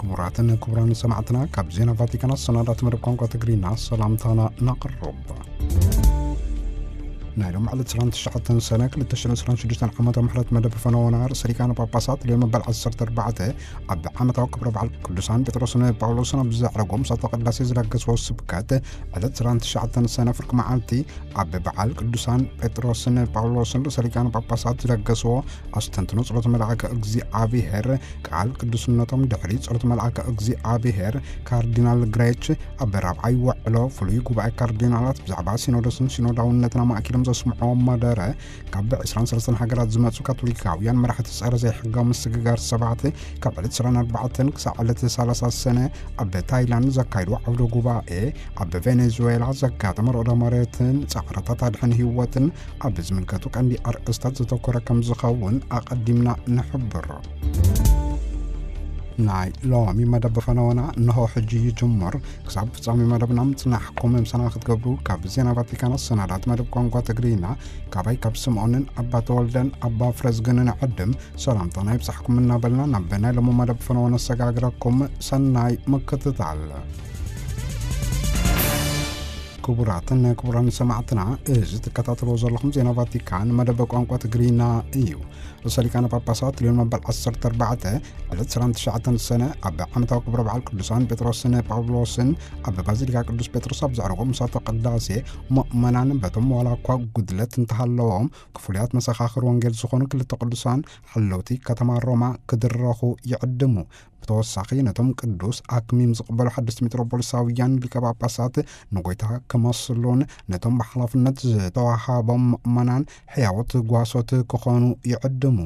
ክቡራትን ክቡራን ሰማዕትና፣ ካብ ዜና ቫቲካን ኣሰናዳት መደብ ቋንቋ ትግርኛ ሰላምታና ነቕርብ። ናይ ሎም ዕለት ዕስራን ትሽዓተን ሰነ ክልተ ሽሕን ዕስራን ሽዱሽተን ዓመተ ምሕረት መደብ ፈነወና ርእሰ ሊቃነ ጳጳሳት ልዮን መበል ዓሰርተ ኣርባዕተ ኣብ ዓመታዊ ክብረ በዓል ቅዱሳን ጴጥሮስን ጳውሎስን ኣብ ዘዕረጎም ምሳተ ቅዳሴ ዝለገስዎ ስብከት ዕለት ዕስራን ትሽዓተን ሰነ ፍርቂ መዓልቲ ኣብ በዓል ቅዱሳን ጴጥሮስን ጳውሎስን ርእሰ ሊቃነ ጳጳሳት ዝለገስዎ ኣስተንትኖ ጸሎት መልኣከ እግዚኣብሔር ቃል ቅዱስነቶም ድሕሪ ጸሎት መልኣከ እግዚኣብሔር ካርዲናል ግሬች ኣብ ራብዓይ ውዕሎ ፍሉይ ጉባኤ ካርዲናላት ብዛዕባ ሲኖዶስን ሲኖዳውነትን ኣማእኪሎም ዘስምዕዎ መደረ ካብ ዕስራን ሰለስተን ሃገራት ዝመጹ ካቶሊካውያን መራሕቲ ጸረ ዘይሕጋዊ ምስግጋር ሰባት ካብ ዕለት ዕስራን ኣርባዕተን ክሳዕ ዕለት ሰላሳ ሰነ ኣብ ታይላንድ ዘካይድዎ ዓውደ ጉባኤ ኣብ ቬኔዙዌላ ዘጋጠመ ርዕደ መሬትን ጻዕርታት ኣድሕን ህይወትን ኣብ ዝምልከቱ ቀንዲ ኣርእስታት ዘተኮረ ከም ዝኸውን ኣቐዲምና ንሕብር። ናይ ሎሚ መደብ ፈነወና እንሆ ሕጂ ይጅምር። ክሳብ ፍጻሜ መደብና ምጽናሕኩም ምሳና ክትገብሩ ካብ ዜና ቫቲካን ኣሰናዳት መደብ ቋንቋ ትግርኛ ካባይ ካብ ስምዖንን ኣባ ተወልደን ኣባ ፍረዝግንን ዕድም ሰላምታና ይብጻሕኩም እናበልና ናብ ናይ ሎሚ መደብ ፈነወ ነሰጋግረኩም። ሰናይ ምክትታል። ክቡራትን ክቡራን ሰማዕትና፣ እዚ ትከታተልዎ ዘለኹም ዜና ቫቲካን መደብ ቋንቋ ትግርኛ እዩ። ርእሰ ሊቃነ ጳጳሳት ልዮን መበል ዓሰርተ ኣርባዕተ ዕለት ዕስራን ትሽዓተን ሰነ ኣብ ዓመታዊ ክብረ በዓል ቅዱሳን ጴጥሮስን ጳውሎስን ኣብ ባዚሊካ ቅዱስ ጴጥሮስ ኣብ ዘዕረጎ ምሳተ ቅዳሴ ምእመናን በቶም ዋላ እኳ ጉድለት እንተሃለዎም ክፍሉያት መሰኻኽር ወንጌል ዝኾኑ ክልተ ቅዱሳን ሓለውቲ ከተማ ሮማ ክድረኹ ይዕድሙ። ብተወሳኺ ነቶም ቅዱስ ኣክሚም ዝቕበሉ ሓደስቲ ሚትሮፖሊሳውያን ሊቀ ጳጳሳት ንጎይታ ክመስሉን ነቶም ብሓላፍነት ዝተዋሃቦም ምእመናን ሕያዎት ጓሶት ክኾኑ ይዕድሙ።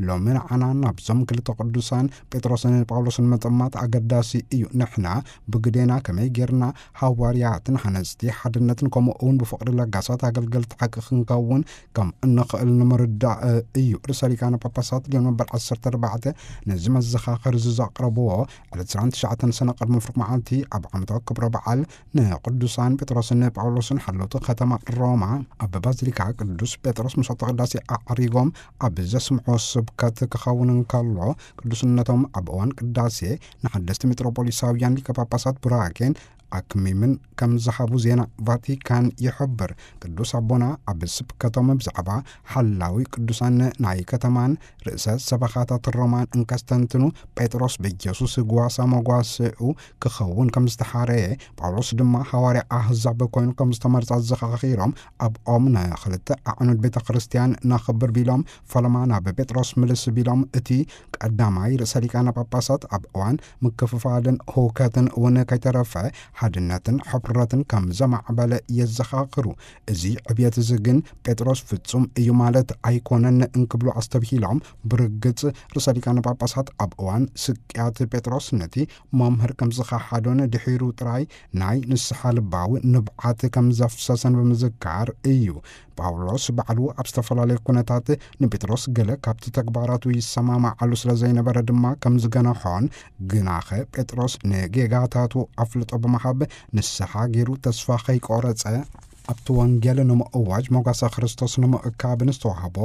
ሎሚ ንዓና ናብዞም ክልተ ቅዱሳን ጴጥሮስን ጳውሎስን ምጥማት ኣገዳሲ እዩ። ንሕና ብግዴና ከመይ ጌርና ሃዋርያትን ሃነጽቲ ሓድነትን ከምኡ እውን ብፍቕሪ ለጋሳት ኣገልገልቲ ሓቂ ክንከውን ከም እንኽእል ንምርዳእ እዩ። ርእሰ ሊቃነ ጳጳሳት ልዮን መበል ዓሰርተ ኣርባዕተ ነዚ መዘኻኸሪ እዚ ዘቕረብዎ ዕለት ዕስራን ትሽዓተን ሰነ ቅድሚ ፍርቂ መዓልቲ ኣብ ዓመታዊ ክብረ በዓል ንቅዱሳን ጴጥሮስን ጳውሎስን ሓለውቲ ከተማ ሮማ ኣብ ባዚሊካ ቅዱስ ጴጥሮስ ምሳተ ቅዳሴ ኣዕሪጎም ኣብ ዘስምዖ ስብከት ክኸውን እንከሎ፣ ቅዱስነቶም ኣብ እዋን ቅዳሴ ንሓደስቲ ሚትሮፖሊሳውያን ሊቀ ጳጳሳት ቡራኬን ኣክሚምን ከም ዝሃቡ ዜና ቫቲካን ይሕብር። ቅዱስ ኣቦና ኣብ ስብከቶም ብዛዕባ ሓላዊ ቅዱሳን ናይ ከተማን ርእሰ ሰበኻታት ሮማን እንከስተንትኑ፣ ጴጥሮስ ብኢየሱስ ጓሳ መጓስኡ ክኸውን ከም ዝተሓረየ፣ ጳውሎስ ድማ ሃዋርያ ኣህዛብ ኮይኑ ከም ዝተመርጸ ኣዘኻኺሮም፣ ኣብኦም ንኽልተ ኣዕኑድ ቤተ ክርስቲያን ነኽብር ቢሎም፣ ፈለማ ናብ ጴጥሮስ ምልስ ቢሎም፣ እቲ ቀዳማይ ርእሰ ሊቃነ ጳጳሳት ኣብ እዋን ምክፍፋልን ህውከትን እውን ከይተረፈ ሓድነትን ሕፍረትን ከም ዘማዕበለ የዘኻኽሩ። እዚ ዕብየት እዚ ግን ጴጥሮስ ፍጹም እዩ ማለት ኣይኮነን እንክብሉ ኣስተብሂሎም፣ ብርግጽ ርእሰ ሊቃነ ጳጳሳት ኣብ እዋን ስቅያት ጴጥሮስ ነቲ መምህር ከም ዝኸሓዶን ድሒሩ ጥራይ ናይ ንስሓ ልባዊ ንብዓት ከም ዘፍሰሰን ብምዝካር እዩ። ጳውሎስ ባዕሉ ኣብ ዝተፈላለየ ኩነታት ንጴጥሮስ ገለ ካብቲ ተግባራቱ ይሰማማዓሉ ስለ ዘይነበረ ድማ ከም ዝገነሖን፣ ግናኸ ጴጥሮስ ንጌጋታቱ ኣፍልጦ ብምሃብ ንስሓ ገይሩ ተስፋ ከይቆረጸ ኣብቲ ወንጌል ንምእዋጅ መጓሰ ክርስቶስ ንምእካብ ንዝተዋህቦ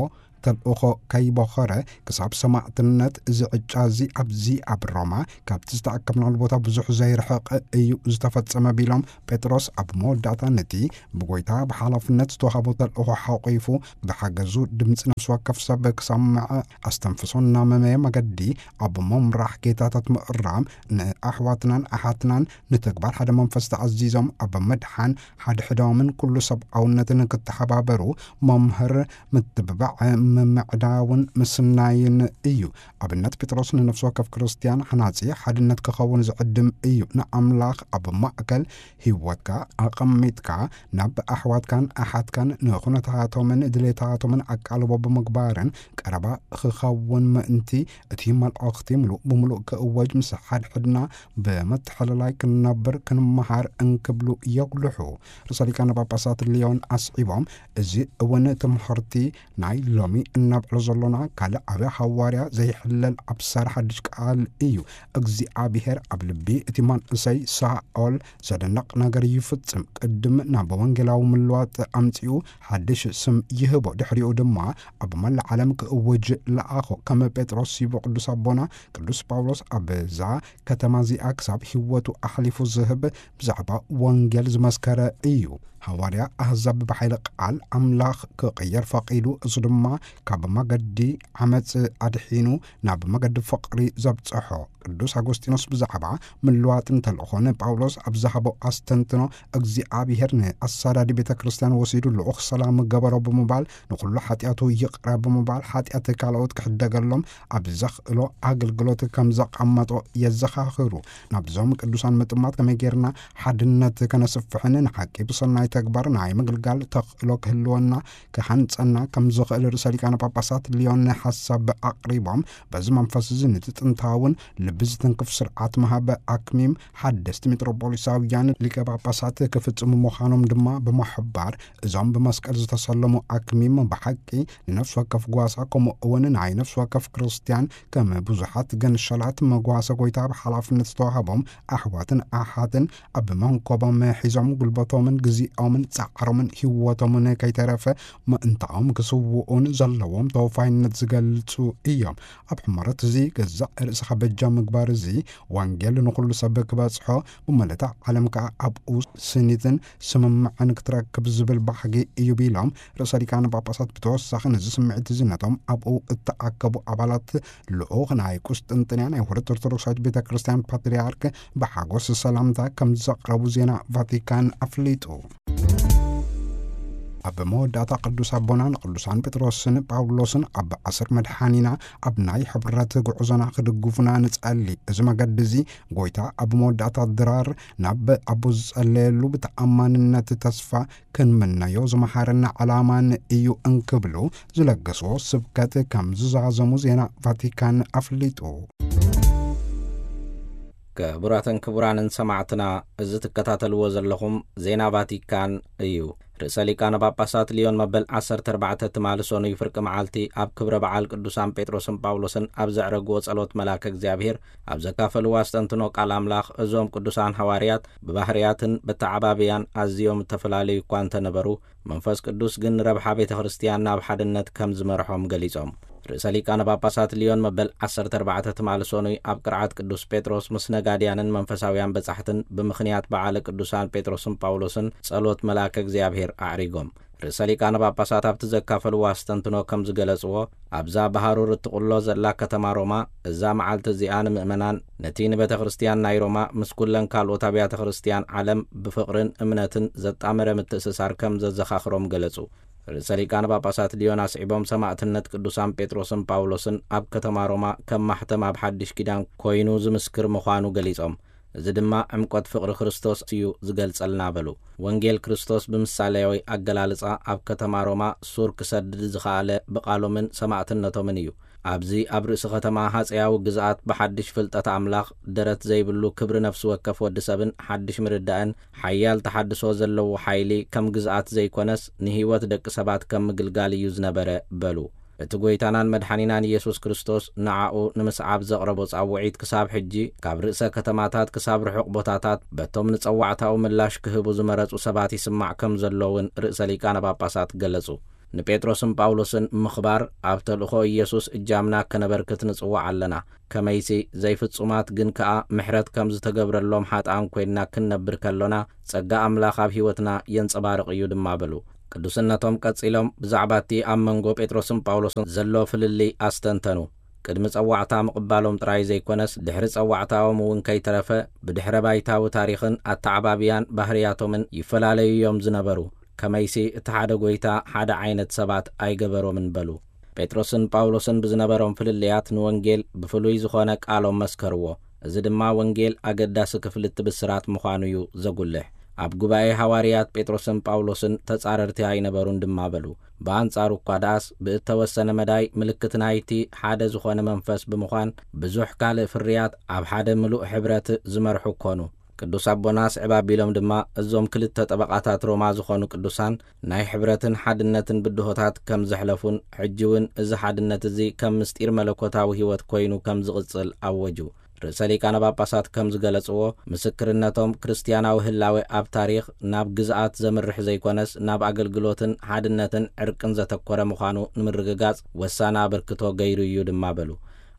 ተልእኾ ከይቦኸረ ክሳብ ሰማዕትነት እዚ ዕጫ እዚ ኣብዚ ኣብ ሮማ ካብቲ ዝተኣከብናሉ ቦታ ብዙሕ ዘይርሕቕ እዩ ዝተፈጸመ ቢሎም፣ ጴጥሮስ ኣብ መወዳእታ ነቲ ብጎይታ ብሓላፍነት ዝተዋህቦ ተልእኾ ሓቑፉ ብሓገዙ ድምፂ ነፍሲ ወከፍ ሰብ ክሰምዕ ኣስተንፍሶ እናመመየ መገዲ ኣብ ምምራሕ ጌታታት ምእራም ንኣሕዋትናን ኣሓትናን ንተግባር ሓደ መንፈስ ተኣዚዞም ኣብ ምድሓን ሓድሕዶምን ኩሉ ሰብኣውነትን ክተሓባበሩ መምህር ምትብባዕ ምምዕዳውን ምስናይን እዩ። ኣብነት ጴጥሮስ ንነፍሲ ወከፍ ክርስትያን ሓናጺ ሓድነት ክኸውን ዝዕድም እዩ። ንኣምላኽ ኣብ ማእከል ህይወትካ ኣቐሚጥካ ናብ ኣሕዋትካን ኣሓትካን ንኹነታቶምን ድሌታቶምን ኣቃልቦ ብምግባርን ቀረባ ክኸውን ምእንቲ እቲ መልእኽቲ ምሉእ ብምሉእ ክእወጅ ምስ ሓድሕድና ብምትሕልላይ ክንነብር ክንመሃር እንክብሉ የጉልሑ። ርእሰ ሊቃነ ጳጳሳት ሊዮን ኣስዒቦም፣ እዚ እውን ትምህርቲ ናይ ሎሚ እናብዕሎ ዘሎና ካልእ ዓብዪ ሃዋርያ ዘይሕለል ኣብሳሪ ሓድሽ ቃል እዩ። እግዚኣብሔር ኣብ ልቢ እቲ መንእሰይ ሳኦል ዘደንቕ ነገር ይፍጽም። ቅድም ናብ ወንጌላዊ ምልዋጥ ኣምጺኡ ሓድሽ ስም ይህቦ። ድሕሪኡ ድማ ኣብ መላእ ዓለም ክእውጅ ለኣኾ። ከም ጴጥሮስ ይቦ ቅዱስ ኣቦና ቅዱስ ጳውሎስ ኣብዛ ከተማ እዚኣ ክሳብ ህይወቱ ኣሕሊፉ ዝህብ ብዛዕባ ወንጌል ዝመስከረ እዩ። ሃዋርያ ኣህዛብ ብሓይሊ ቃል ኣምላኽ ክቕየር ፈቒዱ፣ እሱ ድማ ካብ መገዲ ዓመጽ ኣድሒኑ ናብ መገዲ ፍቕሪ ዘብጽሖ። ቅዱስ ኣጎስጢኖስ ብዛዕባ ምልዋጥን ተልእኾን ጳውሎስ ኣብ ዝሃቦ ኣስተንትኖ፣ እግዚኣብሔር ንኣሳዳዲ ቤተ ክርስቲያን ወሲዱ ልኡኽ ሰላም ገበሮ ብምባል፣ ንኹሉ ሓጢኣቱ ይቕረ ብምባል፣ ሓጢኣት ካልኦት ክሕደገሎም ኣብ ዘኽእሎ ኣገልግሎት ከም ዘቐመጦ የዘኻኽሩ። ናብዞም ቅዱሳን ምጥማት ከመይ ጌርና ሓድነት ከነስፍሕን ንሓቂ ብሰናይ ተግባር ናይ ምግልጋል ተኽእሎ ክህልወና ክሃንጸና ከም ዝኽእል ርእሰ ሊቃነ ጳጳሳት ሊዮን ሓሳብ ኣቕሪቦም፣ በዚ መንፈስ እዚ ነቲ ጥንታውን ልቢ ዝትንክፍ ስርዓት ምሃብ ኣክሚም ሓደስቲ ሜትሮፖሊሳውያን ሊቀ ጳጳሳት ክፍጽሙ ምዃኖም ድማ ብምሕባር፣ እዞም ብመስቀል ዝተሰለሙ ኣክሚም ብሓቂ ንነፍሲ ወከፍ ጓሳ፣ ከምኡ እውን ናይ ነፍሲ ወከፍ ክርስቲያን ከም ብዙሓት ገንሸላት መጓሰ ጎይታ ብሓላፍነት ዝተዋህቦም ኣሕዋትን ኣሓትን ኣብ መንኮቦም ሒዞም ጉልበቶምን ግዜኦምን ጻዕሮምን ህይወቶምን ከይተረፈ ምእንታኦም ክስውኡን ዘለዎም ተወፋይነት ዝገልጹ እዮም። ኣብ ሕመረት እዚ ገዛእ ርእስኻ በጃ ምግባር እዚ ወንጌል ንኹሉ ሰብ ክበጽሖ፣ ብመለታ ዓለም ከኣ ኣብኡ ስኒትን ስምምዕን ክትረክብ ዝብል ባህጊ እዩ ቢሎም፣ ርእሰ ሊቃነ ጳጳሳት ብተወሳኺ ነዚ ስምዒት እዚ ነቶም ኣብኡ እተኣከቡ ኣባላት ልኡኽ ናይ ቁስጥንጥንያ ናይ ውህደት ኦርቶዶክሳዊት ቤተ ክርስቲያን ፓትርያርክ ብሓጎስ ሰላምታ ከም ዘቕረቡ ዜና ቫቲካን ኣፍሊጡ። ኣብ መወዳእታ ቅዱስ ኣቦና ንቅዱሳን ጴጥሮስን ጳውሎስን ኣብ ኣሰር መድሓኒና ኣብ ናይ ሕብረት ጉዕዞና ክድግፉና ንጸሊ። እዚ መገዲ እዚ ጎይታ ኣብ መወዳእታ ድራር ናብ ኣቦ ዝጸለየሉ ብተኣማንነት ተስፋ ክንምነዮ ዝመሓረና ዕላማን እዩ እንክብሉ ዝለገስዎ ስብከት ከም ዝዛዘሙ ዜና ቫቲካን ኣፍሊጡ። ክቡራትን ክቡራንን ሰማዕትና፣ እዚ ትከታተልዎ ዘለኹም ዜና ቫቲካን እዩ። ርእሰ ሊቃነ ጳጳሳት ሊዮን መበል ዓሰርተ ኣርባዕተ ትማሊ ሰኑይ ፍርቂ መዓልቲ ኣብ ክብረ በዓል ቅዱሳን ጴጥሮስን ጳውሎስን ኣብ ዘዕረግዎ ጸሎት መልኣከ እግዚኣብሔር ኣብ ዘካፈልዎ ኣስተንትኖ ቃል ኣምላኽ፣ እዞም ቅዱሳን ሃዋርያት ብባህርያትን በተዓባብያን ኣዝዮም እተፈላለዩ እኳ እንተነበሩ፣ መንፈስ ቅዱስ ግን ንረብሓ ቤተ ክርስቲያን ናብ ሓድነት ከም ዝመርሖም ገሊጾም። ርእሰ ሊቃነ ጳጳሳት ሊዮን መበል ዓሰርተ ኣርባዕተ ትማሊ ሰኑይ ኣብ ቅርዓት ቅዱስ ጴጥሮስ ምስ ነጋድያንን መንፈሳውያን በጻሕትን ብምኽንያት በዓለ ቅዱሳን ጴጥሮስን ጳውሎስን ጸሎት መልኣከ እግዚኣብሔር ኣዕሪጎም። ርእሰ ሊቃነ ጳጳሳት ኣብቲ ዘካፈልዎ ኣስተንትኖ ከም ዝገለጽዎ፣ ኣብዛ ብሃሩር እትቕሎ ዘላ ከተማ ሮማ፣ እዛ መዓልቲ እዚኣ ንምእመናን፣ ነቲ ንቤተ ክርስቲያን ናይ ሮማ ምስ ኩለን ካልኦት ኣብያተ ክርስቲያን ዓለም ብፍቕርን እምነትን ዘጣመረ ምትእስሳር ከም ዘዘኻኽሮም ገለጹ። ርእሰ ሊቃነ ጳጳሳት ሊዮን ኣስዒቦም፣ ሰማዕትነት ቅዱሳን ጴጥሮስን ጳውሎስን ኣብ ከተማ ሮማ ከም ማሕተም ኣብ ሓድሽ ኪዳን ኮይኑ ዝምስክር ምዃኑ ገሊጾም፣ እዚ ድማ ዕምቆት ፍቕሪ ክርስቶስ እዩ ዝገልጸልና በሉ። ወንጌል ክርስቶስ ብምሳሌያዊ ኣገላልጻ ኣብ ከተማ ሮማ ሱር ክሰድድ ዝኸኣለ ብቓሎምን ሰማዕትነቶምን እዩ። ኣብዚ ኣብ ርእሲ ከተማ ሃጸያዊ ግዝኣት ብሓድሽ ፍልጠት ኣምላኽ ደረት ዘይብሉ ክብሪ ነፍሲ ወከፍ ወዲ ሰብን ሓድሽ ምርዳእን ሓያል ተሓድሶ ዘለዎ ሓይሊ ከም ግዝኣት ዘይኮነስ ንህይወት ደቂ ሰባት ከም ምግልጋል እዩ ዝነበረ በሉ። እቲ ጐይታናን መድሓኒናን ኢየሱስ ክርስቶስ ንዓኡ ንምስዓብ ዘቕረቦ ጻውዒት ክሳብ ሕጂ ካብ ርእሰ ከተማታት ክሳብ ርሑቕ ቦታታት በቶም ንጸዋዕታኡ ምላሽ ክህቡ ዝመረጹ ሰባት ይስማዕ ከም ዘሎ እውን ርእሰ ሊቃነ ጳጳሳት ገለጹ። ንጴጥሮስን ጳውሎስን ምኽባር ኣብ ተልእኾ ኢየሱስ እጃምና ከነበርክት ንጽዋዕ ኣለና። ከመይሲ ዘይፍጹማት ግን ከኣ ምሕረት ከም ዝተገብረሎም ሓጥኣን ኮይንና ክንነብር ከሎና ጸጋ ኣምላኽ ኣብ ህይወትና የንጸባርቕ እዩ ድማ በሉ። ቅዱስነቶም ቀጺሎም ብዛዕባ እቲ ኣብ መንጎ ጴጥሮስን ጳውሎስን ዘሎ ፍልልይ ኣስተንተኑ። ቅድሚ ጸዋዕታ ምቕባሎም ጥራይ ዘይኮነስ፣ ድሕሪ ጸዋዕታኦም እውን ከይተረፈ፣ ብድሕረ ባይታዊ ታሪኽን ኣተዓባብያን ባህርያቶምን ይፈላለዩ እዮም ዝነበሩ። ከመይሲ እቲ ሓደ ጐይታ ሓደ ዓይነት ሰባት ኣይገበሮምን በሉ። ጴጥሮስን ጳውሎስን ብዝነበሮም ፍልልያት ንወንጌል ብፍሉይ ዝኾነ ቃሎም መስከርዎ። እዚ ድማ ወንጌል ኣገዳሲ ክፍሊ እቲ ብስራት ምዃኑ እዩ ዘጉልሕ። ኣብ ጉባኤ ሃዋርያት ጴጥሮስን ጳውሎስን ተጻረርቲ ኣይነበሩን ድማ በሉ። ብኣንጻሩ እኳ ደኣስ ብእተወሰነ መዳይ ምልክት ናይቲ ሓደ ዝኾነ መንፈስ ብምዃን ብዙሕ ካልእ ፍርያት ኣብ ሓደ ምሉእ ሕብረት ዝመርሑ ኮኑ። ቅዱስ ኣቦና ስዕብ ኣቢሎም ድማ፣ እዞም ክልተ ጠበቓታት ሮማ ዝኾኑ ቅዱሳን ናይ ሕብረትን ሓድነትን ብድሆታት ከም ዘሕለፉን፣ ሕጂ እውን እዚ ሓድነት እዚ ከም ምስጢር መለኮታዊ ህይወት ኮይኑ ከም ዝቕጽል ኣወጁ። ርእሰ ሊቃነ ጳጳሳት ከም ዝገለጽዎ፣ ምስክርነቶም ክርስትያናዊ ህላዌ ኣብ ታሪኽ ናብ ግዝኣት ዘምርሕ ዘይኮነስ፣ ናብ ኣገልግሎትን ሓድነትን ዕርቅን ዘተኮረ ምዃኑ ንምርግጋጽ ወሳኒ ኣበርክቶ ገይሩ እዩ ድማ በሉ።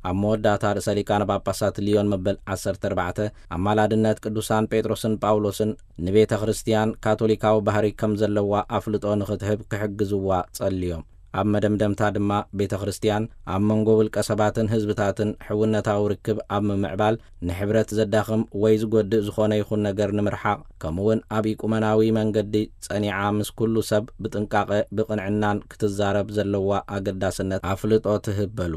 ኣብ መወዳእታ ርእሰ ሊቃነ ጳጳሳት ሊዮን መበል ዓሰርተ ኣርባዕተ፣ ኣማላድነት ቅዱሳን ጴጥሮስን ጳውሎስን ንቤተ ክርስትያን ካቶሊካዊ ባህሪ ከም ዘለዋ ኣፍልጦ ንኽትህብ ክሕግዝዋ ጸልዮም። ኣብ መደምደምታ ድማ፣ ቤተ ክርስትያን ኣብ መንጎ ውልቀ ሰባትን ህዝብታትን ሕውነታዊ ርክብ ኣብ ምምዕባል፣ ንሕብረት ዘዳኽም ወይ ዝጎድእ ዝኾነ ይኹን ነገር ንምርሓቕ፣ ከምኡውን ኣብ ኢቁመናዊ መንገዲ ጸኒዓ ምስ ኩሉ ሰብ ብጥንቃቐ ብቕንዕናን ክትዛረብ ዘለዋ ኣገዳስነት ኣፍልጦ ትህብ በሉ።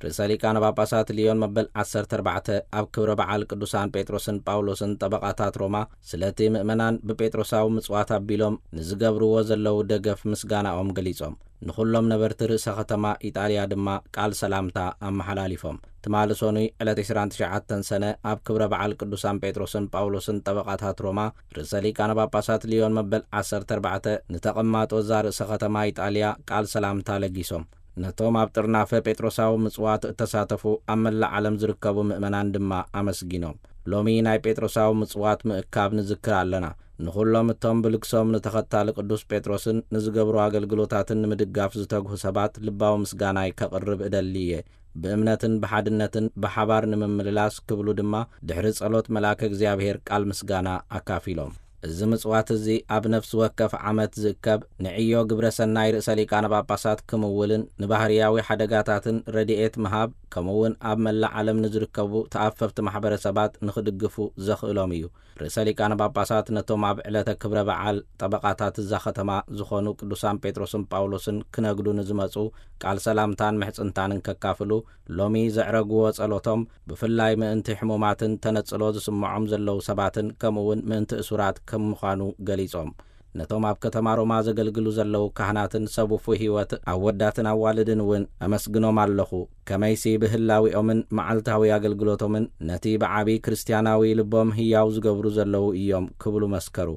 ርእሰ ሊቃነ ጳጳሳት ሊዮን መበል ዓሰርተ ኣርባዕተ ኣብ ክብረ በዓል ቅዱሳን ጴጥሮስን ጳውሎስን ጠበቓታት ሮማ፣ ስለቲ ምእመናን ብጴጥሮሳዊ ምጽዋት ኣቢሎም ንዝገብርዎ ዘለዉ ደገፍ ምስጋናኦም ገሊጾም። ንኹሎም ነበርቲ ርእሰ ከተማ ኢጣልያ ድማ ቃል ሰላምታ ኣመሓላሊፎም። ትማሊ ሰኑይ ዕለት ዕስራን ትሽዓተን ሰነ ኣብ ክብረ በዓል ቅዱሳን ጴጥሮስን ጳውሎስን ጠበቓታት ሮማ፣ ርእሰ ሊቃነ ጳጳሳት ሊዮን መበል ዓሰርተ ኣርባዕተ ንተቐማጦ እዛ ርእሰ ከተማ ኢጣልያ ቃል ሰላምታ ለጊሶም። ነቶም ኣብ ጥርናፈ ጴጥሮሳዊ ምጽዋት እተሳተፉ ኣብ መላእ ዓለም ዝርከቡ ምእመናን ድማ ኣመስጊኖም። ሎሚ ናይ ጴጥሮሳዊ ምጽዋት ምእካብ ንዝክር ኣለና። ንኹሎም እቶም ብልግሶም ንተኸታሊ ቅዱስ ጴጥሮስን ንዝገብሩ ኣገልግሎታትን ንምድጋፍ ዝተግሁ ሰባት ልባዊ ምስጋናይ ከቕርብ እደሊ እየ። ብእምነትን ብሓድነትን ብሓባር ንምምልላስ ክብሉ ድማ ድሕሪ ጸሎት መልኣከ እግዚኣብሔር ቃል ምስጋና ኣካፊሎም። እዚ ምጽዋት እዚ ኣብ ነፍሲ ወከፍ ዓመት ዝእከብ ንዕዮ ግብረ ሰናይ ርእሰ ሊቃነ ጳጳሳት ክምውልን ንባህርያዊ ሓደጋታትን ረድኤት ምሃብ ከምኡውን ኣብ መላእ ዓለም ንዝርከቡ ተኣፈፍቲ ማሕበረሰባት ንኽድግፉ ዘኽእሎም እዩ። ርእሰ ሊቃነ ጳጳሳት ነቶም ኣብ ዕለተ ክብረ በዓል ጠበቓታት እዛ ከተማ ዝኾኑ ቅዱሳን ጴጥሮስን ጳውሎስን ክነግዱ ንዝመጹ ቃል ሰላምታን ምሕጽንታንን ከካፍሉ ሎሚ ዘዕረግዎ ጸሎቶም ብፍላይ ምእንቲ ሕሙማትን ተነጽሎ ዝስምዖም ዘለዉ ሰባትን ከምኡውን ምእንቲ እሱራት ከም ምዃኑ ገሊጾም። ነቶም ኣብ ከተማ ሮማ ዘገልግሉ ዘለዉ ካህናትን ሰብ ውፉይ ህይወት ኣወዳትን ኣዋልድን እውን ኣመስግኖም ኣለኹ። ከመይሲ ብህላዊኦምን መዓልታዊ ኣገልግሎቶምን ነቲ ብዓቢ ክርስትያናዊ ልቦም ህያው ዝገብሩ ዘለዉ እዮም ክብሉ መስከሩ።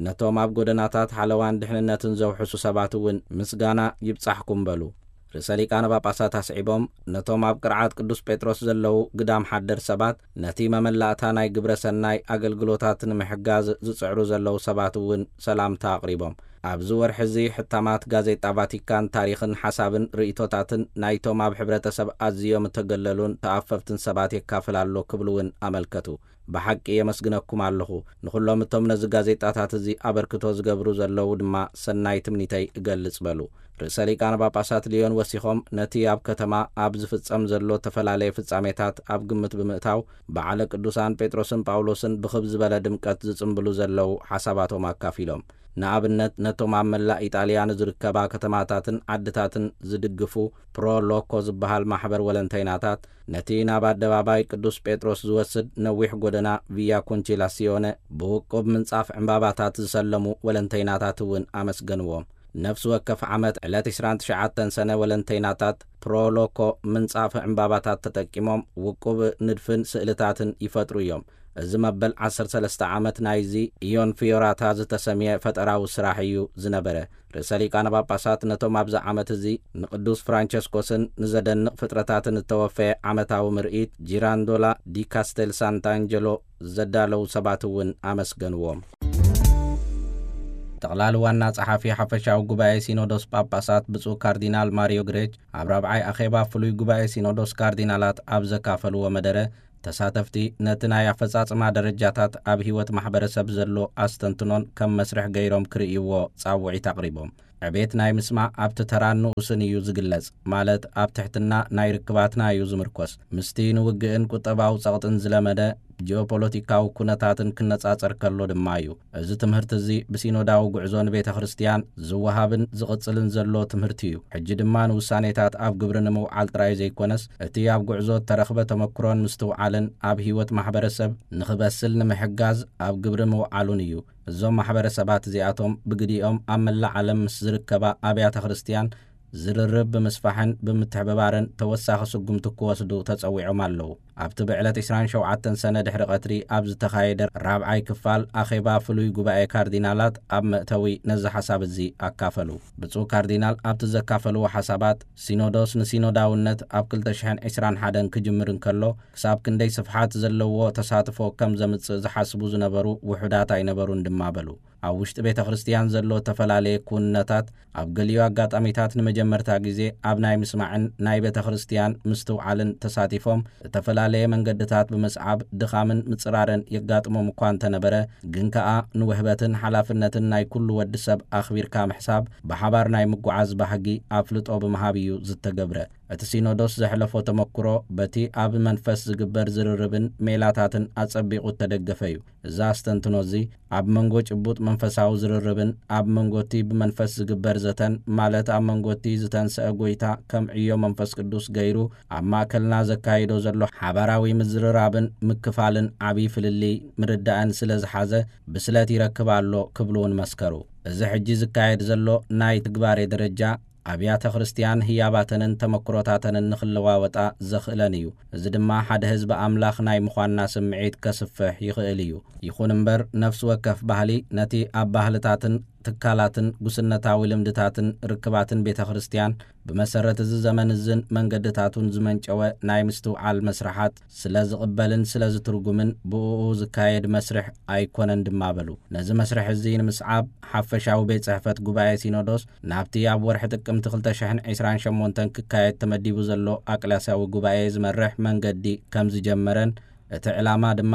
ነቶም ኣብ ጎደናታት ሓለዋን ድሕንነትን ዘውሕሱ ሰባት እውን ምስጋና ይብጻሕኩም በሉ። ርእሰ ሊቃነ ጳጳሳት ኣስዒቦም፣ ነቶም ኣብ ቅርዓት ቅዱስ ጴጥሮስ ዘለዉ ግዳም ሓደር ሰባት፣ ነቲ መመላእታ ናይ ግብረ ሰናይ ኣገልግሎታት ንምሕጋዝ ዝጽዕሩ ዘለዉ ሰባት እውን ሰላምታ ኣቕሪቦም። ኣብዚ ወርሒ እዚ ሕታማት ጋዜጣ ቫቲካን ታሪኽን ሓሳብን ርእይቶታትን ናይቶም ኣብ ሕብረተሰብ ኣዝዮም እተገለሉን ተኣፈፍትን ሰባት የካፍል ኣሎ ክብሉ እውን ኣመልከቱ። ብሓቂ የመስግነኩም ኣለኹ። ንኹሎም እቶም ነዚ ጋዜጣታት እዚ ኣበርክቶ ዝገብሩ ዘለዉ ድማ ሰናይ ትምኒተይ እገልጽ በሉ። ርእሰ ሊቃነ ጳጳሳት ሊዮን ወሲኾም፣ ነቲ ኣብ ከተማ ኣብ ዝፍጸም ዘሎ እተፈላለየ ፍጻሜታት ኣብ ግምት ብምእታው፣ በዓለ ቅዱሳን ጴጥሮስን ጳውሎስን ብኽብ ዝበለ ድምቀት ዝጽምብሉ ዘለዉ ሓሳባቶም ኣካፊሎም። ንኣብነት፣ ነቶም ኣብ መላእ ኢጣልያ ንዝርከባ ከተማታትን ዓድታትን ዝድግፉ ፕሮ ሎኮ ዝበሃል ማሕበር ወለንተይናታት፣ ነቲ ናብ ኣደባባይ ቅዱስ ጴጥሮስ ዝወስድ ነዊሕ ጎደና ቪያ ኮንቺላሲዮነ ብውቁብ ምንጻፍ ዕምባባታት ዝሰለሙ ወለንተይናታት እውን ኣመስገንዎም። ነፍሲ ወከፍ ዓመት ዕለት ዕስራን ትሽዓተን ሰነ ወለንተይናታት ፕሮ ሎኮ ምንጻፍ ዕምባባታት ተጠቂሞም ውቁብ ንድፍን ስእልታትን ይፈጥሩ እዮም። እዚ መበል ዓሰርተ ሰለስተ ዓመት ናይዚ ኢዮን ፊዮራታ ዝተሰምየ ፈጠራዊ ስራሕ እዩ ዝነበረ። ርእሰ ሊቃነ ጳጳሳት ነቶም ኣብዚ ዓመት እዚ ንቅዱስ ፍራንቸስኮስን ንዘደንቕ ፍጥረታትን እተወፈየ ዓመታዊ ምርኢት ጂራንዶላ ዲ ካስቴል ሳንታንጀሎ ዘዳለዉ ሰባት እውን ኣመስገንዎም። ጠቕላሊ ዋና ጸሓፊ ሓፈሻዊ ጉባኤ ሲኖዶስ ጳጳሳት ብፁዕ ካርዲናል ማሪዮ ግሬች ኣብ ራብዓይ ኣኼባ ፍሉይ ጉባኤ ሲኖዶስ ካርዲናላት ኣብ ዘካፈልዎ መደረ፣ ተሳተፍቲ ነቲ ናይ ኣፈጻጽማ ደረጃታት ኣብ ህይወት ማሕበረሰብ ዘሎ ኣስተንትኖን ከም መስርሕ ገይሮም ክርእይዎ ጻውዒት ኣቕሪቦም። ዕቤት ናይ ምስማዕ ኣብቲ ተራን ንኡስን እዩ ዝግለጽ፣ ማለት ኣብ ትሕትና ናይ ርክባትና እዩ ዝምርኮስ። ምስቲ ንውግእን ቁጠባዊ ጸቕጥን ዝለመደ ጂኦፖለቲካዊ ኩነታትን ክነጻጸር ከሎ ድማ እዩ። እዚ ትምህርቲ እዚ ብሲኖዳዊ ጉዕዞ ንቤተ ክርስቲያን ዝወሃብን ዝቕጽልን ዘሎ ትምህርቲ እዩ። ሕጂ ድማ ንውሳኔታት ኣብ ግብሪ ንምውዓል ጥራይ ዘይኮነስ፣ እቲ ኣብ ጉዕዞ እተረኽበ ተመክሮን ምስትውዓልን ኣብ ህይወት ማሕበረሰብ ንኽበስል ንምሕጋዝ ኣብ ግብሪ ምውዓሉን እዩ። እዞም ማሕበረሰባት እዚኣቶም ብግዲኦም ኣብ መላእ ዓለም ምስ ዝርከባ ኣብያተ ክርስቲያን ዝርርብ ብምስፋሕን ብምትሕብባርን ተወሳኺ ስጉምቲ ክወስዱ ተጸዊዖም ኣለዉ። ኣብቲ ብዕለት ዕስራን ሸውዓተን ሰነ ድሕሪ ቀትሪ ኣብ ዝተኻየደ ራብዓይ ክፋል ኣኼባ ፍሉይ ጉባኤ ካርዲናላት ኣብ መእተዊ ነዚ ሓሳብ እዚ ኣካፈሉ። ብፁዕ ካርዲናል ኣብቲ ዘካፈልዎ ሓሳባት፣ ሲኖዶስ ንሲኖዳውነት ኣብ ክልተ ሽሕን ዕስራን ሓደን ክጅምር እንከሎ፣ ክሳብ ክንደይ ስፍሓት ዘለዎ ተሳትፎ ከም ዘምጽእ ዝሓስቡ ዝነበሩ ውሑዳት ኣይነበሩን ድማ በሉ። ኣብ ውሽጢ ቤተ ክርስቲያን ዘሎ እተፈላለየ ክውንነታት ኣብ ገሊኡ ኣጋጣሚታት ንመጀመርታ ግዜ ኣብ ናይ ምስማዕን ናይ ቤተ ክርስቲያን ምስትውዓልን ተሳቲፎም፣ እተፈላለየ መንገድታት ብምስዓብ ድኻምን ምጽራርን የጋጥሞም እኳ እንተነበረ፣ ግን ከኣ ንውህበትን ሓላፍነትን ናይ ኩሉ ወዲ ሰብ ኣኽቢርካ ምሕሳብ፣ ብሓባር ናይ ምጉዓዝ ባህጊ ኣፍልጦ ብምሃብ እዩ ዝተገብረ። እቲ ሲኖዶስ ዘሕለፎ ተመክሮ፣ በቲ ኣብ መንፈስ ዝግበር ዝርርብን ሜላታትን ኣጸቢቑ እተደገፈ እዩ። እዚ ኣስተንትኖ እዚ፣ ኣብ መንጎ ጭቡጥ መንፈሳዊ ዝርርብን ኣብ መንጎ እቲ ብመንፈስ ዝግበር ዘተን፣ ማለት ኣብ መንጎ እቲ ዝተንስአ ጐይታ ከም ዕዮ መንፈስ ቅዱስ ገይሩ ኣብ ማእከልና ዘካይዶ ዘሎ ሓባራዊ ምዝርራብን ምክፋልን፣ ዓቢ ፍልልይ ምርዳእን ስለ ዝሓዘ፣ ብስለት ይረክብ ኣሎ ክብሉ እውን መስከሩ። እዚ ሕጂ ዝካየድ ዘሎ ናይ ትግባሬ ደረጃ፣ ኣብያተ ክርስቲያን ህያባተንን ተመክሮታተንን ንኽለዋወጣ ዘኽእለን እዩ። እዚ ድማ ሓደ ህዝቢ ኣምላኽ ናይ ምዃንና ስምዒት ከስፍሕ ይኽእል እዩ። ይኹን እምበር፣ ነፍሲ ወከፍ ባህሊ ነቲ ኣብ ባህልታትን ትካላትን ጉስነታዊ ልምድታትን ርክባትን ቤተ ክርስቲያን፣ ብመሰረት እዚ ዘመን እዝን መንገድታቱን ዝመንጨወ ናይ ምስትውዓል መስርሓት ስለ ዝቕበልን ስለ ዝትርጉምን፣ ብእኡ ዝካየድ መስርሕ ኣይኮነን ድማ በሉ። ነዚ መስርሕ እዚ ንምስዓብ፣ ሓፈሻዊ ቤት ጽሕፈት ጉባኤ ሲኖዶስ ናብቲ ኣብ ወርሒ ጥቅምቲ ክልተ ሽሕን ዕስራን ሸሞንተን ክካየድ ተመዲቡ ዘሎ ኣቅላስያዊ ጉባኤ ዝመርሕ መንገዲ ከም ዝጀመረን፣ እቲ ዕላማ ድማ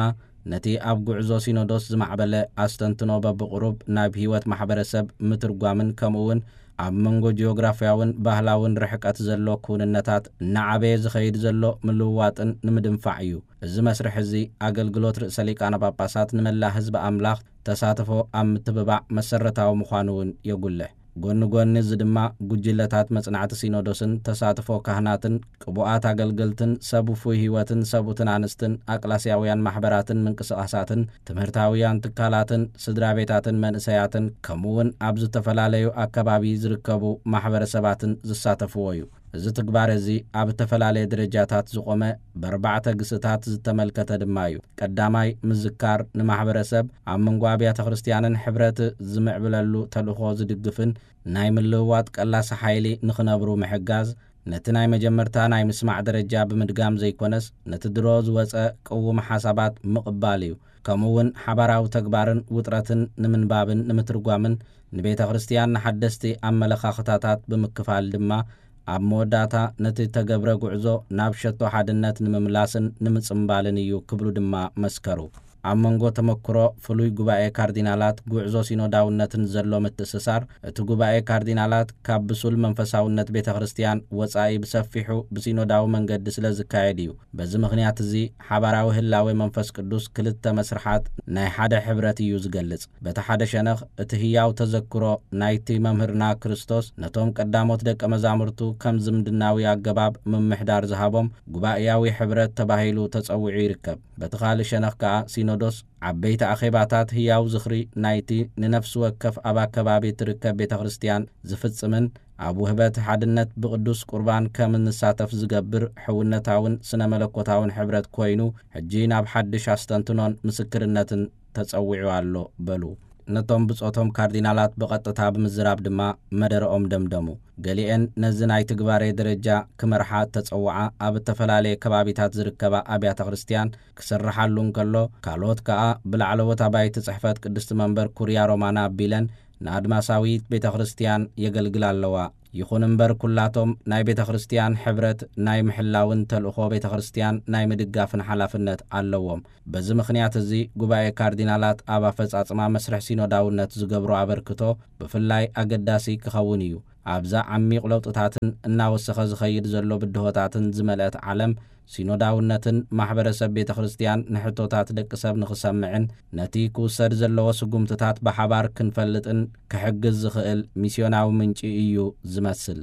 ነቲ ኣብ ጉዕዞ ሲኖዶስ ዝማዕበለ ኣስተንትኖ በብቕሩብ ናብ ህይወት ማሕበረሰብ ምትርጓምን፣ ከምኡ እውን ኣብ መንጎ ጂኦግራፍያውን ባህላውን ርሕቀት ዘሎ ክውንነታት እናዓበየ ዝኸይድ ዘሎ ምልውዋጥን ንምድንፋዕ እዩ። እዚ መስርሕ እዚ፣ ኣገልግሎት ርእሰ ሊቃነ ጳጳሳት ንመላእ ህዝቢ ኣምላኽ ተሳትፎ ኣብ ምትብባዕ መሰረታዊ ምዃኑ እውን የጉልሕ። ጎኒ ጎኒ እዚ ድማ፣ ጉጅለታት መጽናዕቲ ሲኖዶስን ተሳትፎ ካህናትን፣ ቅቡኣት ኣገልገልትን፣ ሰብ ውፉይ ህይወትን ሰብኡትን ኣንስትን፣ ኣቅላስያውያን ማሕበራትን ምንቅስቓሳትን፣ ትምህርታውያን ትካላትን፣ ስድራ ቤታትን መንእሰያትን፣ ከምኡ እውን ኣብ ዝተፈላለዩ ኣከባቢ ዝርከቡ ማሕበረሰባትን ዝሳተፍዎ እዩ። እዚ ትግባረ እዚ ኣብ እተፈላለየ ደረጃታት ዝቖመ፣ ብኣርባዕተ ግስታት ዝተመልከተ ድማ እዩ። ቀዳማይ፣ ምዝካር ንማሕበረሰብ ኣብ መንጎ ኣብያተ ክርስቲያንን ሕብረት ዝምዕብለሉ ተልእኾ ዝድግፍን ናይ ምልውዋጥ ቀላሲ ሓይሊ ንኽነብሩ ምሕጋዝ፣ ነቲ ናይ መጀመርታ ናይ ምስማዕ ደረጃ ብምድጋም ዘይኮነስ፣ ነቲ ድሮ ዝወጸ ቅዉም ሓሳባት ምቕባል እዩ። ከምኡ እውን ሓባራዊ ተግባርን ውጥረትን ንምንባብን ንምትርጓምን፣ ንቤተ ክርስቲያን ንሓደስቲ ኣመለኻኽታታት ብምክፋል ድማ፣ ኣብ መወዳእታ ነቲ ተገብረ ጉዕዞ ናብ ሸቶ ሓድነት ንምምላስን ንምጽምባልን እዩ ክብሉ ድማ መስከሩ። ኣብ መንጎ ተመክሮ ፍሉይ ጉባኤ ካርዲናላት ጉዕዞ ሲኖዳውነትን ዘሎ ምትእስሳር፣ እቲ ጉባኤ ካርዲናላት ካብ ብሱል መንፈሳውነት ቤተ ክርስቲያን ወጻኢ ብሰፊሑ ብሲኖዳዊ መንገዲ ስለ ዝካየድ እዩ። በዚ ምኽንያት እዚ፣ ሓባራዊ ህላዌ መንፈስ ቅዱስ ክልተ መስርሓት ናይ ሓደ ሕብረት እዩ ዝገልጽ። በቲ ሓደ ሸነኽ፣ እቲ ህያው ተዘክሮ ናይቲ መምህርና ክርስቶስ ነቶም ቀዳሞት ደቀ መዛሙርቱ ከም ዝምድናዊ ኣገባብ ምምሕዳር ዝሃቦም ጉባኤያዊ ሕብረት ተባሂሉ ተጸዊዑ ይርከብ። በቲ ካልእ ሸነኽ ከኣ፣ ሲኖዶስ ዓበይቲ ኣኼባታት ህያው ዝኽሪ ናይቲ ንነፍሲ ወከፍ ኣብ ኣከባቢ እትርከብ ቤተ ክርስቲያን ዝፍጽምን ኣብ ውህበት ሓድነት ብቅዱስ ቁርባን ከም እንሳተፍ ዝገብር ሕውነታውን ስነ መለኮታውን ሕብረት ኮይኑ፣ ሕጂ ናብ ሓድሽ ኣስተንትኖን ምስክርነትን ተጸዊዑ ኣሎ በሉ። ነቶም ብጾቶም ካርዲናላት ብቐጥታ ብምዝራብ ድማ መደረኦም ደምደሙ። ገሊኤን ነዚ ናይ ትግባሬ ደረጃ ክመርሓ እተጸውዓ ኣብ እተፈላለየ ከባቢታት ዝርከባ ኣብያተ ክርስቲያን ክስርሓሉ እንከሎ፣ ካልኦት ከኣ ብላዕለዎት ኣባይቲ ጽሕፈት ቅድስቲ መንበር ኩርያ ሮማና ኣቢለን ንኣድማሳዊት ቤተ ክርስቲያን የገልግላ ኣለዋ። ይኹን እምበር፣ ኩላቶም ናይ ቤተ ክርስቲያን ሕብረት ናይ ምሕላውን ተልእኾ ቤተ ክርስቲያን ናይ ምድጋፍን ሓላፍነት ኣለዎም። በዚ ምኽንያት እዚ፣ ጉባኤ ካርዲናላት ኣብ ኣፈጻጽማ መስርሕ ሲኖዳውነት ዝገብሮ ኣበርክቶ ብፍላይ ኣገዳሲ ክኸውን እዩ። ኣብዛ ዓሚቕ ለውጥታትን እናወሰኸ ዝኸይድ ዘሎ ብድሆታትን ዝመልአት ዓለም፣ ሲኖዳውነትን ማሕበረሰብ ቤተ ክርስቲያን ንሕቶታት ደቂ ሰብ ንኽሰምዕን ነቲ ክውሰድ ዘለዎ ስጉምትታት ብሓባር ክንፈልጥን ክሕግዝ ዝኽእል ሚስዮናዊ ምንጪ እዩ ዝመስል።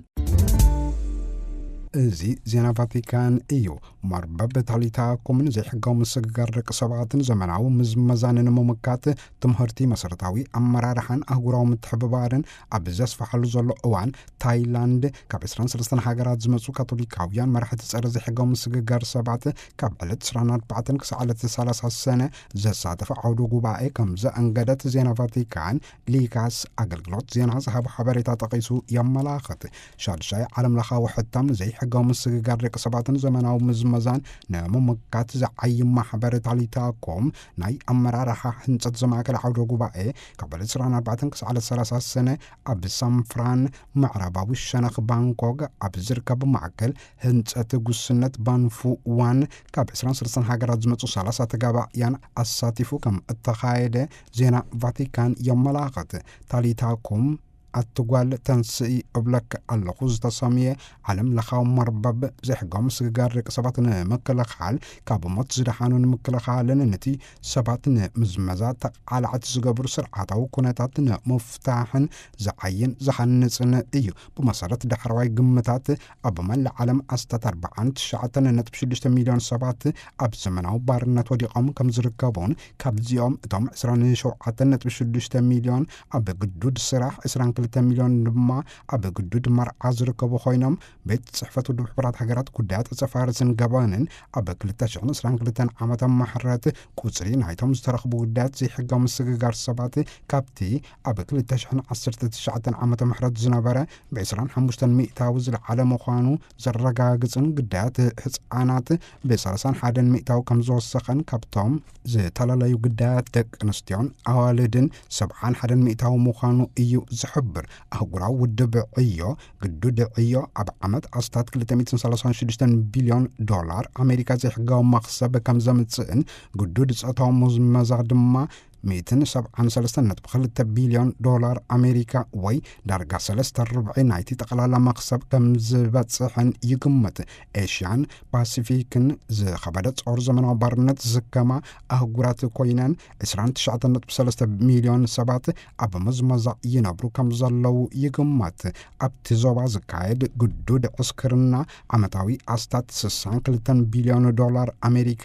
እዚ ዜና ቫቲካን እዩ። መርበብ ታሊታ ኮምን ዘይሕጋዊ ምስግጋር ደቂ ሰባትን ዘመናዊ ምዝመዛን ንምምካት ትምህርቲ፣ መሰረታዊ ኣመራርሓን ኣህጉራዊ ምትሕብባርን ኣብ ዘስፍሓሉ ዘሎ እዋን፣ ታይላንድ ካብ ዕስራን ሰለስተን ሃገራት ዝመጹ ካቶሊካውያን መራሕቲ ጸረ ዘይሕጋዊ ምስግጋር ሰባት ካብ ዕለት ዕስራን ኣርባዕተን ክሳዕ ዕለት ሰላሳ ሰነ ዘሳተፈ ዓውደ ጉባኤ ከም ዘኣንገደት ዜና ቫቲካን ሊካስ ኣገልግሎት ዜና ዝሃቦ ሓበሬታ ጠቒሱ የመላኽት። ሻድሻይ ዓለም ለኻዊ ሕታም ንዘይሕጋዊ ምስግጋር ደቂ ሰባትን ዘመናዊ ምዝመዛን ንምምካት ዝዓይም ማሕበር ታሊታ ኮም ናይ ኣመራርሓ ህንጸት ዘማእከለ ዓውደ ጉባኤ ካብ ዕለት ዕስራን ኣርባዕተን ክሳዕ ዕለት ሰላሳ ሰነ ኣብ ሳንፍራን ምዕራባዊ ሸነኽ ባንኮክ ኣብ ዝርከብ ማእከል ህንጸት ጉስነት ባንፉ ዋን ካብ ዕስራን ሰለስተን ሃገራት ዝመጹ ሰላሳ ተጋባእያን ኣሳቲፉ ከም እተኻየደ ዜና ቫቲካን የመላኽት። ታሊታ ኮም ኣትጓል ተንስኢ እብለክ ኣለኹ ዝተሰምየ ዓለም ለኻዊ መርበብ ዘይሕጋዊ ምስግጋር ደቂ ሰባት ንምክልኻል፣ ካብ ሞት ዝደሓኑ ንምክልኻልን ነቲ ሰባት ንምዝመዛ ተቓላዕቲ ዝገብሩ ስርዓታዊ ኩነታት ንምፍታሕን ዝዓይን ዝሃንጽን እዩ። ብመሰረት ዳሕረዋይ ግምታት፣ ኣብ መላእ ዓለም ኣስታት ኣርባዓን ትሽዓተን ነጥቢ ሽዱሽተ ሚልዮን ሰባት ኣብ ዘመናዊ ባርነት ወዲቖም ከም ዝርከቡን፣ ካብዚኦም እቶም ዕስራን ሸውዓተን ነጥቢ ሽዱሽተ ሚልዮን ኣብ ግዱድ ስራሕ፣ ዕስራን ክልተ ሚልዮን ድማ ኣብ ግዱድ መርዓ ዝርከቡ ኮይኖም፣ ቤት ጽሕፈት ውድብ ሕቡራት ሃገራት ጉዳያት ዕጸ ፋርስን ገበንን ኣብ ክልተ ሽሕን ዕስራን ክልተን ዓመተ ምሕረት ቁጽሪ ናይቶም ዝተረኽቡ ጉዳያት ዘይሕጋዊ ምስግጋር ሰባት ካብቲ ኣብ ክልተ ሽሕን ዓሰርተ ትሽዓተን ዓመተ ምሕረት ዝነበረ ብዕስራን ሓሙሽተን ሚእታዊ ዝለዓለ ምዃኑ ዘረጋግጽን፣ ግዳያት ህጻናት ብሰላሳን ሓደን ሚእታዊ ከም ዝወሰኸን፣ ካብቶም ዝተፈላለዩ ግዳያት ደቂ ኣንስትዮን ኣዋልድን ሰብዓን ሓደን ሚእታዊ ምዃኑ እዩ ዝሕብር። ኣህጉራዊ ውድብ ዕዮ፣ ግዱድ ዕዮ፣ ኣብ ዓመት ኣስታት ክልተ ሚእትን ሰላሳን ሽዱሽተን ቢልዮን ዶላር ኣሜሪካ ዘይሕጋዊ መኽሰብ ከም ዘምጽእን፣ ግዱድ ጾታዊ ምዝመዛ ድማ ሚእትን ሰብዓን ሰለስተን ነጥቢ ክልተ ቢልዮን ዶላር ኣሜሪካ፣ ወይ ዳርጋ ሰለስተ ርብዒ ናይቲ ጠቕላላ መኽሰብ ከም ዝበጽሕን ይግመት። ኤሽያን ፓሲፊክን ዝኸበደ ጾር ዘመናዊ ባርነት ዝስከማ ኣህጉራት ኮይነን፣ ዕስራን ትሽዓተን ነጥቢ ሰለስተ ሚልዮን ሰባት ኣብ ምዝመዛ ይነብሩ ከም ዘለዉ ይግመት። ኣብቲ ዞባ ዝካየድ ግዱድ ዕስክርና ዓመታዊ ኣስታት ስሳን ክልተን ቢልዮን ዶላር ኣሜሪካ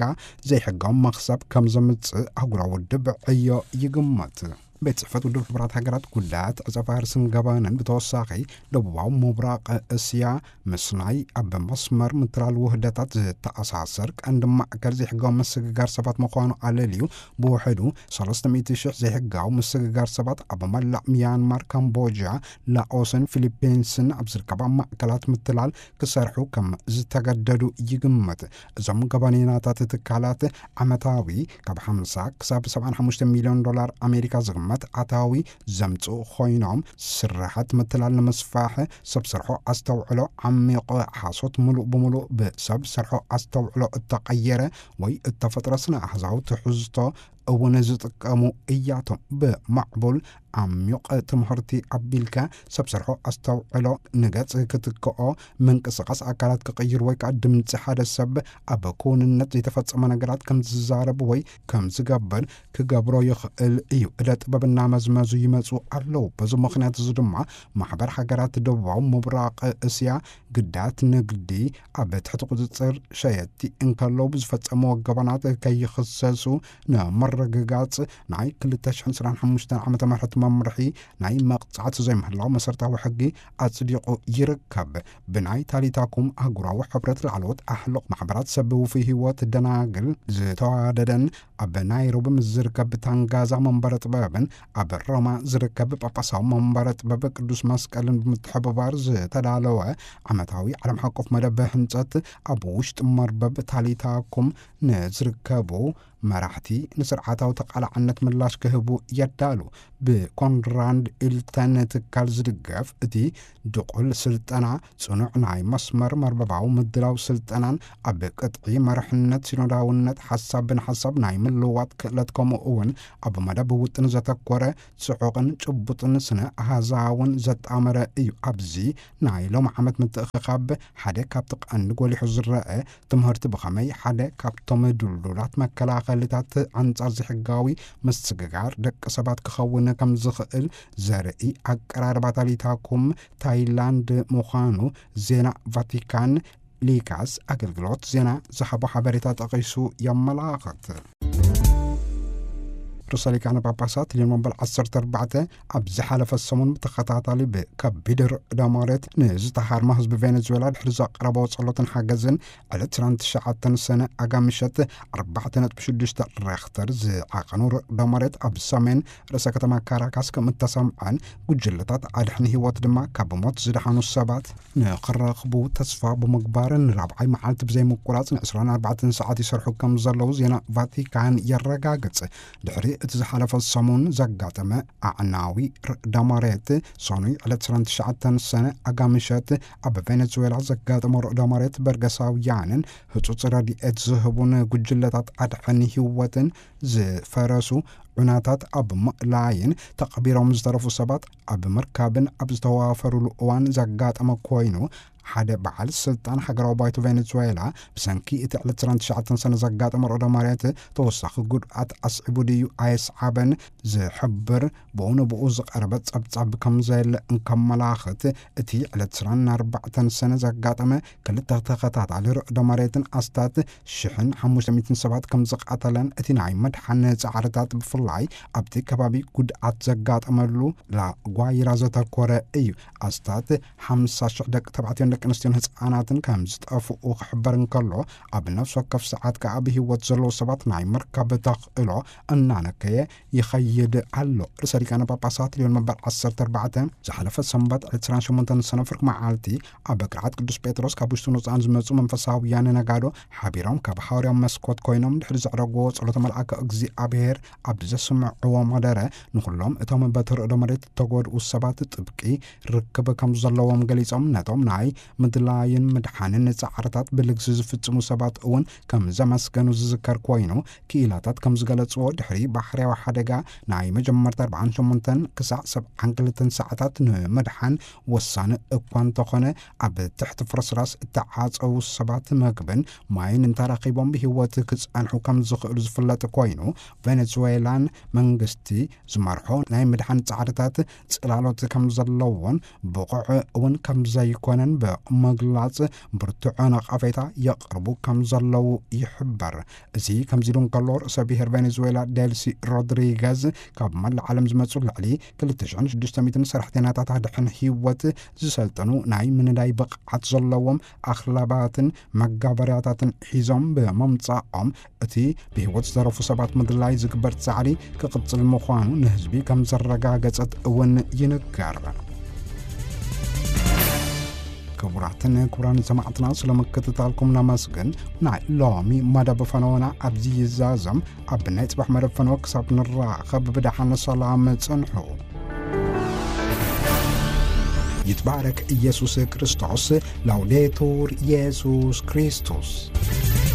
ዘይሕጋዊ መኽሰብ ከም ዘምጽእ ኣህጉራዊ ውድብ ዕዮ ይግመት። ቤት ጽሕፈት ውድብ ሕቡራት ሃገራት ጉዳያት ዕጸ ፋርስን ገበንን ብተወሳኺ፣ ደቡባዊ ምብራቕ እስያ ምስ ናይ ኣብ መስመር ምትላል ውህደታት ዝተኣሳሰር ቀንዲ ማእከል ዘይሕጋዊ ምስግጋር ሰባት ምዃኑ ኣለልዩ፣ ብውሕዱ ሰለስተ ሚእቲ ሽሕ ዘይሕጋዊ ምስግጋር ሰባት ኣብ መላእ ሚያንማር፣ ካምቦጃ፣ ላኦስን ፊሊፒንስን ኣብ ዝርከባ ማእከላት ምትላል ክሰርሑ ከም ዝተገደዱ ይግመት። እዞም ገበነኛታት ትካላት ዓመታዊ ካብ ሓምሳ ክሳብ ሰብዓን ሓሙሽተ ሚልዮን ዶላር ኣሜሪካ ዝግመት ኣታዊ ዘምጽኡ ኮይኖም፣ ስርሓት ምትላል ንምስፋሕ ሰብ ሰርሖ ኣስተውዕሎ ዓሚቕ ሓሶት፣ ምሉእ ብምሉእ ብሰብ ሰርሖ ኣስተውዕሎ እተቐየረ ወይ እተፈጥረ ስነ ኣሃዛዊ ትሕዝቶ እውን ዝጥቀሙ እያቶም። ብማዕቡል ዓሚቕ ትምህርቲ ኣቢልካ ሰብ ሰርሖ ኣስተውዕሎ ንገጽ ክትክኦ፣ ምንቅስቓስ ኣካላት ክቕይር ወይ ከዓ ድምፂ ሓደ ሰብ ኣብ ክውንነት ዘይተፈጸመ ነገራት ከም ዝዛረብ ወይ ከም ዝገብር ክገብሮ ይኽእል እዩ። እደ ጥበብ እናመዝመዙ ይመጹ ኣለዉ። በዚ ምኽንያት እዚ ድማ ማሕበር ሃገራት ደቡባዊ ምብራቕ እስያ ግዳያት ንግዲ ኣብ ትሕቲ ቁጽጽር ሸየጥቲ እንከለዉ ብዝፈጸምዎ ገበናት ከይኽሰሱ ንምርግጋጽ ናይ ክልተ ሽሕን ዕስራን ሓሙሽተን ዓመተ ምህረት መምርሒ ናይ መቕጻዕቲ ዘይምህላው መሰረታዊ ሕጊ ኣጽዲቑ ይርከብ። ብናይ ታሊታኩም ኣህጉራዊ ሕብረት ላዕለዎት ኣሕሉቕ ማሕበራት ሰብ ውፉይ ህይወት ደናግል ዝተዋደደን ኣብ ናይሮቢ ምስ ዝርከብ ታንጋዛ መንበረ ጥበብን ኣብ ሮማ ዝርከብ ጳጳሳዊ መንበረ ጥበብ ቅዱስ መስቀልን ብምትሕብባር ዝተዳለወ ዓመታዊ ዓለም ሓቆፍ መደብ ህንጸት፣ ኣብ ውሽጢ መርበብ ታሊታኩም ንዝርከቡ መራሕቲ ንስርዓታዊ ተቓላዕነት ምላሽ ክህቡ የዳሉ። ብኮንራድ ኢልተን ትካል ዝድገፍ እቲ ድቑል ስልጠና፣ ጽኑዕ ናይ መስመር መርበባዊ ምድላው ስልጠናን ኣብ ቅጥዒ መርሕነት ሲኖዳውነት ሓሳብ ብንሓሳብ ናይ ምልውዋጥ ክእለት፣ ከምኡ እውን ኣብ መደብ ውጥን ዘተኮረ ጽዑቕን ጭቡጥን ስነ ኣሃዛውን ዘጣመረ እዩ። ኣብዚ ናይ ሎም ዓመት ምትእኽኻብ ሓደ ካብቲ ቀንዲ ጎሊሑ ዝረአ ትምህርቲ ብኸመይ ሓደ ካብቶም ድልዱላት መከላኸልታት ኣንጻር ዘይሕጋዊ ምስግጋር ደቂ ሰባት ክኸውን ከም ዝኽእል ዘርኢ ኣቀራርባ ታሊታኩም ታይላንድ ምዃኑ ዜና ቫቲካን ሊካስ ኣገልግሎት ዜና ዝሃቦ ሓበሬታ ጠቒሱ የመላኽት። ርእሰ ሊቃነ ጳጳሳት ሊዮን መበል ዓሰርተ ኣርባዕተ ኣብ ዝሓለፈ ሰሙን ብተኸታታሊ ብከቢድ ርዕደ መሬት ንዝተሃርመ ህዝቢ ቬኔዙዌላ ድሕሪ ዘቕረቦ ጸሎትን ሓገዝን ዕለት ዕስራን ትሽዓተን ሰነ ኣጋ ምሸት ኣርባዕተ ነጥቢ ሽዱሽተ ሬክተር ዝዓቐኑ ርዕደ መሬት ኣብ ሰሜን ርእሰ ከተማ ካራካስ ከም እተሰምዐን ጉጅለታት ኣድሕን ህይወት ድማ ካብ ሞት ዝደሓኑ ሰባት ንኽረኽቡ ተስፋ ብምግባር ንራብዓይ መዓልቲ ብዘይምቁራጽ ን ዕስራን ኣርባዕተን ሰዓት ይሰርሑ ከም ዘለዉ ዜና ቫቲካን የረጋግጽ። ድሕሪ እቲ ዝሓለፈ ሰሙን ዘጋጠመ ኣዕናዊ ርዕደ መሬት፣ ሰኑይ ዕለት ዕስራን ትሽዓተን ሰነ ኣጋ ምሸት ኣብ ቬኔዙዌላ ዘጋጠመ ርዕደ መሬት በርገሳውያንን ህጹጽ ረድኤት ዝህቡን ጉጅለታት ኣድሕን ህይወትን ዝፈረሱ ዑናታት ኣብ ምእላይን ተቐቢሮም ዝተረፉ ሰባት ኣብ ምርካብን ኣብ ዝተዋፈሩሉ እዋን ዘጋጠመ ኮይኑ፣ ሓደ በዓል ስልጣን ሃገራዊ ባይቶ ቬኔዙዌላ ብሰንኪ እቲ ዕለት ዕስራን ትሽዓተን ሰነ ዘጋጠመ ርዕደ መሬት ተወሳኺ ጉድኣት ኣስዒቡ ድዩ ኣየስዓበን ዝሕብር ብኡ ንብኡ ዝቐረበ ጸብጻብ ከም ዘየለ እንከመላኽት፣ እቲ ዕለት ዕስራን ኣርባዕተን ሰነ ዘጋጠመ ክልተ ተኸታታሊ ርዕደ መሬትን ኣስታት ሽሕን ሓሙሽተ ሚእትን ሰባት ከም ዝቐተለን እቲ ናይ መድሓን ጻዕርታት ብፍላይ ኣብቲ ከባቢ ጉድኣት ዘጋጠመሉ ላጓይራ ዘተኮረ እዩ። ኣስታት ሓምሳ ሽሕ ደቂ ተባዕትዮን ደቂ ኣንስትዮን ህጻናትን ከም ዝጠፍኡ ክሕበር እንከሎ፣ ኣብ ነፍሲ ወከፍ ሰዓት ከኣ ብህይወት ዘለዉ ሰባት ናይ ምርካብ ተኽእሎ እናነከየ ይኸይድ ኣሎ። ርእሰ ሊቃነ ጳጳሳት ሊዮን መበል ዓሰርተ ኣርባዕተ ዝሓለፈ ሰንበት ዕለት ዕስራን ሸሞንተን ሰነ ፍርቂ መዓልቲ ኣብ ቅርዓት ቅዱስ ጴጥሮስ ካብ ውሽጥን ወጻእን ዝመጹ መንፈሳውያን ነጋዶ ሓቢሮም ካብ ሃዋርያዊ መስኮት ኮይኖም ድሕሪ ዘዕረግዎ ጸሎተ መልኣከ እግዚኣብሔር ኣብ ዘስምዕዎ መደረ፣ ንኹሎም እቶም በቲ ርዕደ መሬት እተጎድኡ ሰባት ጥብቂ ርክብ ከም ዘለዎም ገሊጾም፣ ነቶም ናይ ምድላይን ምድሓንን ጻዕርታት ብልግሲ ዝፍጽሙ ሰባት እውን ከም ዘመስገኑ ዝዝከር ኮይኑ፣ ክኢላታት ከም ዝገለጽዎ፣ ድሕሪ ባሕርያዊ ሓደጋ ናይ መጀመርታ ኣርባዓን ሸሞንተን ክሳዕ ሰብዓን ክልተን ሰዓታት ንምድሓን ወሳኒ እኳ እንተኾነ፣ ኣብ ትሕቲ ፍርስራስ እተዓጸዉ ሰባት መግብን ማይን እንተረኺቦም ብህይወት ክጸንሑ ከም ዝኽእሉ ዝፍለጥ ኮይኑ፣ ቬኔዙዌላን መንግስቲ ዝመርሖ ናይ ምድሓን ጻዕርታት ጽላሎት ከም ዘለዎን ብቑዕ እውን ከም ዘይኮነን ብምግላጽ፣ ብርቱዕ ነቐፌታ የቕርቡ ከም ዘለዉ ይሕበር። እዚ ከምዚ ኢሉ እንከሎ፣ ርእሰ ብሔር ቬኔዙዌላ ዴልሲ ሮድሪገዝ፣ ካብ መላእ ዓለም ዝመጹ ልዕሊ ክልተ ሽሕን ሽዱሽተ ሚእትን ሰራሕተኛታት ኣድሕን ህይወት ዝሰልጠኑ ናይ ምንዳይ ብቕዓት ዘለዎም ኣኽላባትን መጋበርያታትን ሒዞም ብምምጻኦም፣ እቲ ብህይወት ዝተረፉ ሰባት ምድላይ ዝግበር ጻዕሪ ክቕጽል ምዃኑ ንህዝቢ ከም ዘረጋገጸት እውን ይንገር። ክቡራትን ክቡራን ሰማዕትና፣ ስለ ምክትታልኩም ነመስግን። ናይ ሎሚ መደብ ፈነወና ኣብዚ ይዛዘም። ኣብ ናይ ጽባሕ መደብ ፈነወ ክሳብ ንራኸብ ብደሓን ሰላም ጽንሑ። ይትባረክ ኢየሱስ ክርስቶስ። ላውዴቱር ኢየሱስ ክርስቶስ።